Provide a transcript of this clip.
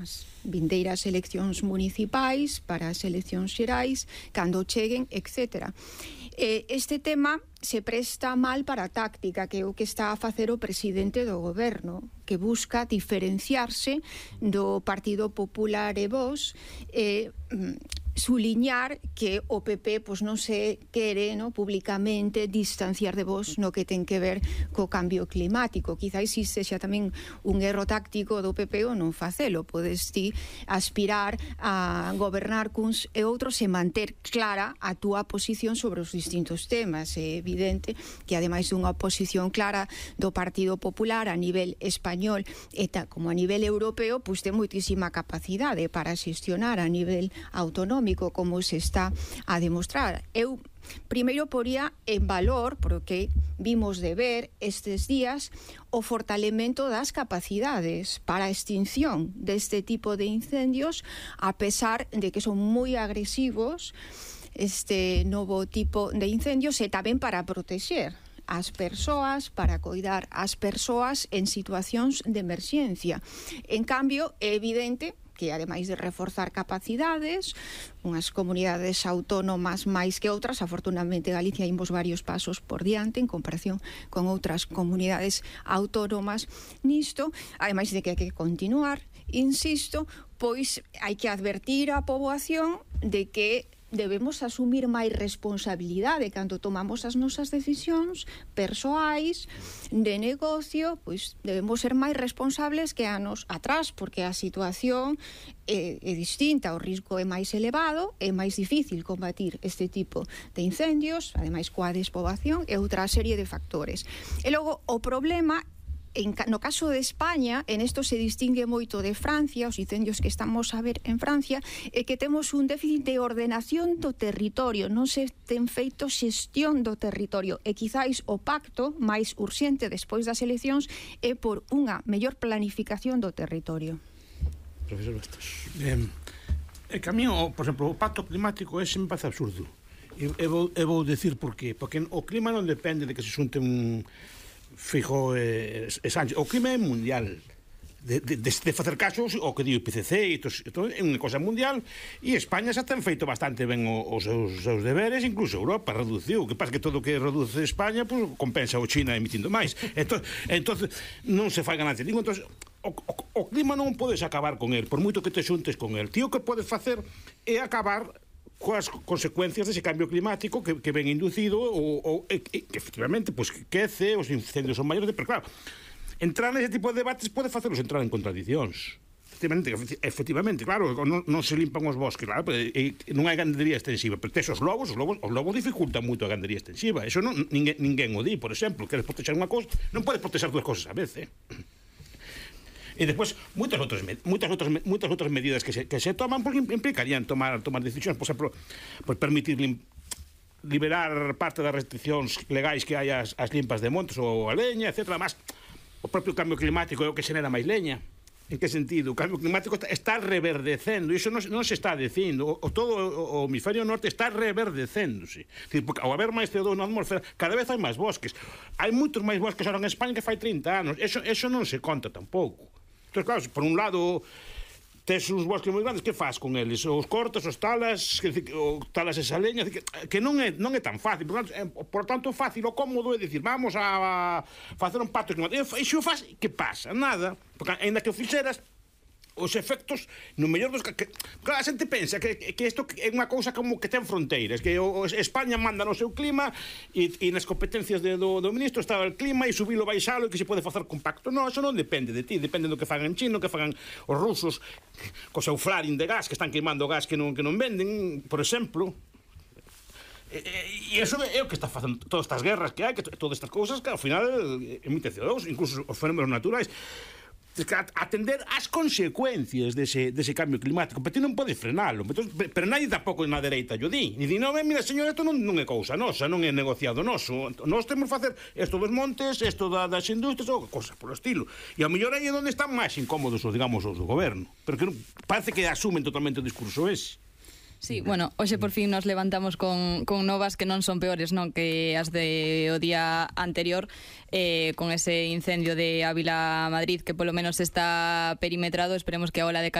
as vindeiras eleccións municipais, para as eleccións xerais, cando cheguen, etc. Este tema se presta mal para a táctica, que é o que está a facer o presidente do goberno, que busca diferenciarse do Partido Popular e Vox, suliñar que o PP non se quere públicamente distanciar de Vox no que ten que ver co cambio climático. Quizá existe xa tamén un erro táctico do PP ou non facelo. Podes ti aspirar a gobernar cuns e outros e manter clara a túa posición sobre os distintos temas. É evidente que ademais dunha oposición clara do Partido Popular a nivel español e como a nivel europeo, ten moitísima capacidade para xestionar a nivel autonómico, como se está a demostrar. Eu primeiro poría en valor, porque vimos de ver estes días, o fortalemento das capacidades para a extinción deste tipo de incendios, a pesar de que son moi agresivos este novo tipo de incendios, e tamén para protexer as persoas, para coidar as persoas en situacións de emerxencia. En cambio, é evidente que, ademais de reforzar capacidades, unhas comunidades autónomas máis que outras, afortunadamente Galicia imos varios pasos por diante en comparación con outras comunidades autónomas nisto, ademais de que hai que continuar, insisto, pois hai que advertir á poboación de que debemos asumir máis responsabilidade cando tomamos as nosas decisións persoais de negocio, pois debemos ser máis responsables que anos atrás, porque a situación é distinta, o risco é máis elevado, é máis difícil combatir este tipo de incendios, ademais coa despoboación e outra serie de factores. E logo o problema no caso de España, en isto se distingue moito de Francia, os incendios que estamos a ver en Francia, é que temos un déficit de ordenación do territorio, non se ten feito xestión do territorio, e quizáis o pacto máis urxente despois das eleccións é por unha mellor planificación do territorio. Profesor Bastos. É que a mí, por exemplo, o pacto climático ese me parece absurdo. E vou decir por qué. Porque o clima non depende de que se xunte un Feijóo e Sánchez. O clima é mundial. De facer caso ao que di o IPCC, é unha cosa mundial, e España xa ten feito bastante ben os seus deberes, incluso Europa reduciu. O que pasa que todo o que reduce España compensa o China emitindo máis. Entón non se fai ganancia ningún. Entón, o clima non podes acabar con el, por moito que te xuntes con el. Tío, o que podes facer é acabar coas consecuencias dese cambio climático que ven inducido que efectivamente quece, os incendios son maiores, pero claro, entrar nese tipo de debates pode facelos entrar en contradicións. Efectivamente, claro, non se limpan os bosques, claro, non hai gandería extensiva, pero tes os lobos dificultan moito a gandería extensiva. Eso ninguén o di, por exemplo, queres protexer unha cosa, non podes protexer dúas cosas a vez, E despois, moitas outras medidas que se toman implicarían tomar decisións, por exemplo, permitir liberar parte das restriccións legais que hai ás limpas de montes ou a leña, etc. Además, o propio cambio climático é o que xenera máis leña. En que sentido? O cambio climático está reverdecendo, e iso non se está dicindo. Todo o hemisferio norte está reverdecéndose. Porque ao haber máis CO2 na atmosfera, cada vez hai máis bosques. Hai moitos máis bosques ahora en España que fai 30 anos. Eso non se conta tampouco. Entón, claro, por un lado tes uns bosques moi grandes, que faz con eles? Os cortas, os talas, talas esa leña, que non é tan fácil. Por tanto, fácil ou cómodo é dicir, vamos a facer un pacto climático. E se o faz, que pasa? Nada. Porque ainda que o fixeras, os efectos no mellor dos claro, a xente pensa que isto é unha cousa como que ten fronteiras, que España manda no seu clima e nas competencias do ministro está o clima e subilo, baixalo, e que se pode facer con pacto. Non, eso non depende de ti, depende do que fagan en China, que fagan os rusos co seu flaring de gas, que están queimando gas que non venden, por exemplo. E iso é o que está facendo todas estas guerras que hai, que todas estas cousas que ao final emite CO2, incluso os fenómenos naturais. Atender as consecuencias dese cambio climático, pero ti non podes frenalo, pero nadie tampouco na dereita yo di, e di, non, mira señor, isto non é cousa nosa, non é negociado noso, nós temos que facer isto dos montes, isto das industrias ou cosas por o estilo, e ao mellor aí é onde están máis incómodos os do goberno, pero que parece que asumen totalmente o discurso ese. Sí, bueno, hoxe por fin nos levantamos con novas que non son peores, non, que as de o día anterior, con ese incendio de Ávila Madrid, que polo menos está perimetrado. Esperemos que a ola de calor